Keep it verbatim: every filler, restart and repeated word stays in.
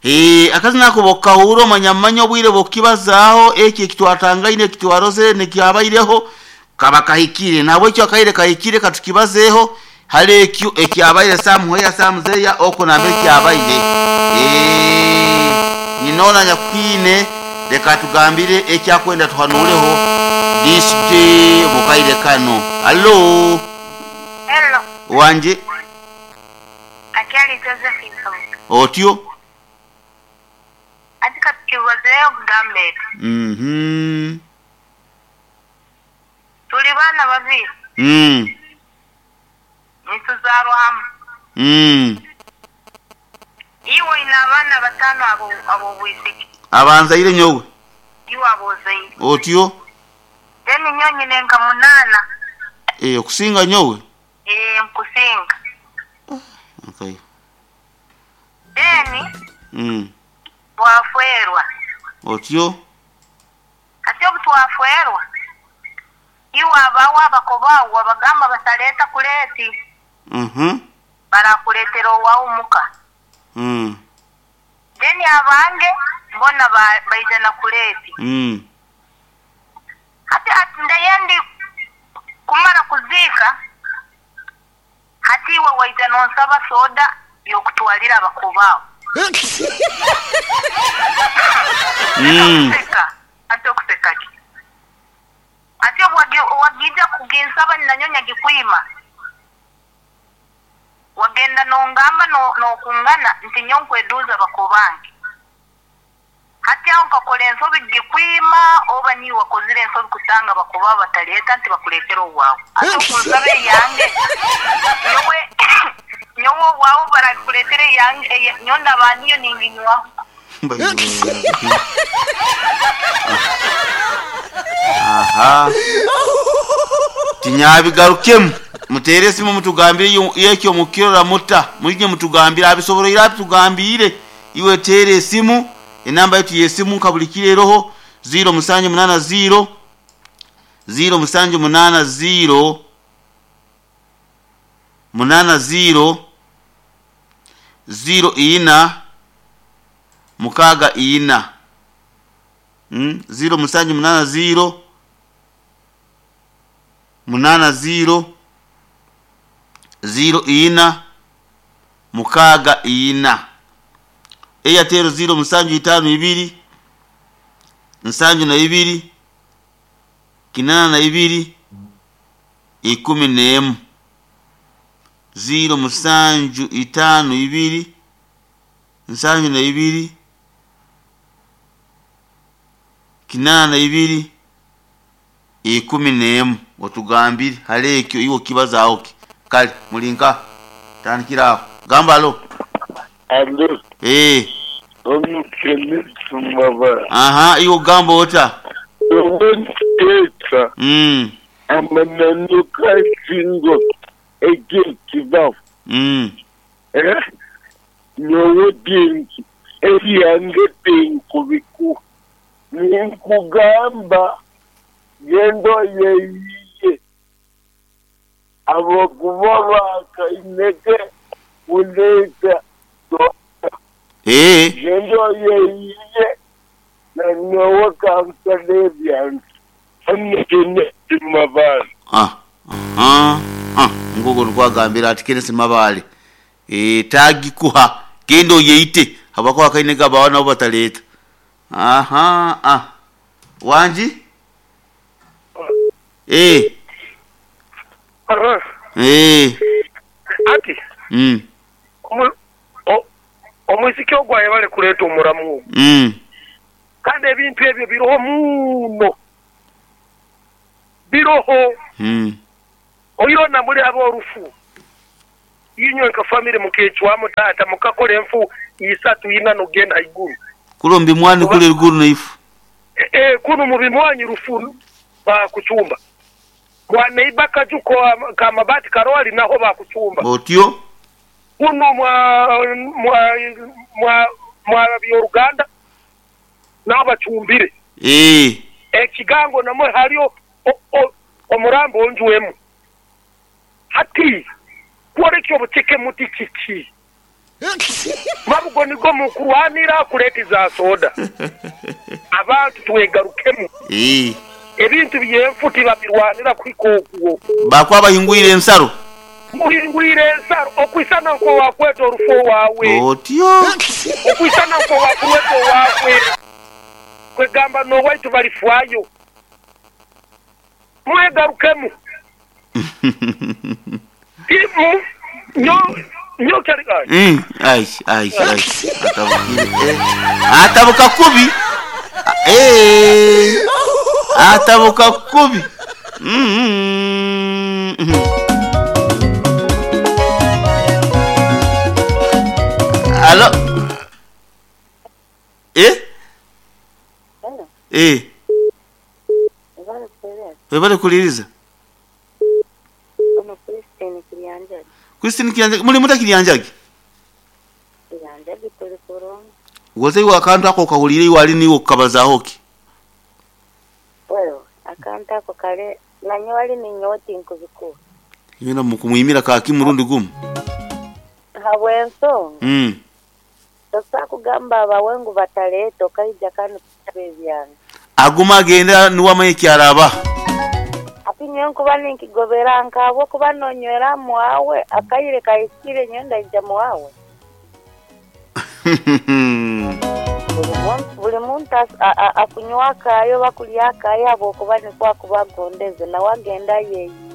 Eh, akazina ako bokahura omanya manya obwire bokibazaaho ekyo ekitwatangaine ekitwarozere nekyabaireho kaba kahikire nabwekyo akaire kahikire katukibazeeho hali ekyo ekyabaire samuheya samuzeya oko nambe ekyabaire. Eh, ninona nyakwine leka tugambire ekyakwenda tuhanuleho this day mukaire kano. Allo. Hello. Wanje. Akiali Josephine Kabuga. Otyo. Atika tukibazeeyo kugambe. Mhm. Tuli baana babiri. Mm. Nituzaarwa hamwe. Mm. Iwe ina abaana batano abo abo bwisiki. Abanzaire nyowe. Iwe abozaire. Otyo. Then nyonyi nenka munana. Eh, okusinga nyowe. Eh, nkusinga. Okay. Then Mm. twafwerwa. Otyo. Ate obu twafwerwa. Iwe abawo abakobawo abagamba bataleta kuleti. Mhm. Barakuletera owawu muka. Mm. Then abange mbona baija na kuleti. Mm. Hati ati ndayendi kumara kuzika hati iwe waija nonsaba soda yokutwalira abakobawo. Mm. Ate okuseka ki? Ate wagija kuginsaba nanyonya gikwima. Wagenda nongamba no nokungana nti nyonkweduza bakobange. Hati aho nkakola ensobi gikwima oba ni wakozire ensobi kusanga bakoba bataleta nti bakuletera owawe. Ate okunsaba eyange nyowe nyowe owawe barakuletera eyange nyonda baniyo ninginywaho. Aha. Tinyabigarukemu. Mutere simu mutugambire yekyo mukirora muta. Mulige mutugambire abisobora ira tugambire. Iwe tere simu enamba yetu yesimu kabulikire roho zero musanju munana zero zero musanju munana zero munana zero zero ina mukaga ina. Mm, zero musanju munana zero munana zero zero ina mukaga ina. Airtel zero musanju itano ibiri nsanju na ibiri kinana na ibiri ikumi n'emu. Zero musanju itano ibiri nsanju na ibiri kinana na ibiri ikumi n'emu. Otugambire hale ekyo iwo kibaza oki. Kale mulinka tandikira gamba alo. Alo. Eh. Onu kendisi baba. Aha, iwo gamba ota. Omuntu Mm. Amananuka singo eke kibafu. Mm. Eh? Nyowe dinki eyange tinkubiku. Ninkugamba gendo yeyiye. Abakuba bakaineke kuleta. Eh. Gendo yeyiye na nyowe kansale byange. Mabale. Ah. Ah. Ah. Ngogo nkwagambira ati Kenneth Mabale. Eh, tagikuha gendo yeite habako akainega bawana bataleta. Aha, ah. Wanji? Eh. Aha. Eh. Ati. Mm. Omuziki ogwaye bale kuleta omuramu. Mm. Kandi ebintu ebyo biroho muno. Biroho. Mm. Oyona muri abo orufu. Inyo nka family mukechwamo tata mukakora enfu isatu ina nogenda iguru. Kulombi mwani kule iguru naifu. Eh e, kuno mu bimwanyi rufu ba kuchumba. Kwa neiba kajuko kama bati karoli naho ba kuchumba. Otyo. Kuno mwa mwa mwa mwa Uganda nabo bachumbire. Eh. Ekigango namwe haliyo omurambo onjuwemu. Hati kuolekyo buteke muti kiki. Babugo nigo mukurwanira kuleta za soda. Abantu twegarukemu. Eh. Ebintu byenfu tibabirwanira kwikokuwo. Bakwa bahingwire ensaro. Muhingwire ensaro okwisana nko wakweta orufo wawe. Otyo. Okwisana nko wakweta wawe. Kwegamba no waitu balifwayo. Mwegarukemu. Imu nyo nyo kyali ai. Mm, ai ai ai. Atabukire. Eh. Atabuka kubi. Eh. Atabuka kubi. Mm. Alo. Eh? Eh. Webale kuliriza. Christine Kiryanjagi. Christine Kiryanjagi muri muta Kiryanjagi? Kiryanjagi tuli kurungi. Woze iwe akantu ako kahulire iwe ali niwe kukabazaho ki? Wewe akantu ako kale nanyo wali ninyoti nkubikuwa. Yena mukumwimira ka kimurundi gumu. Habwensonga. Mm. Tosa kugamba abawengu bataleeta okaija kanu kubebyana. Aguma agenda niwamanye kyaraba. Ati nkuba ninkigobera nkabo kuba nonywera mwawe akayire kayikire nyenda ija mwawe. Buli muntu akunywa akayo bakulya akayo abo kuba nikwa kubagondeze na wagenda yeyi.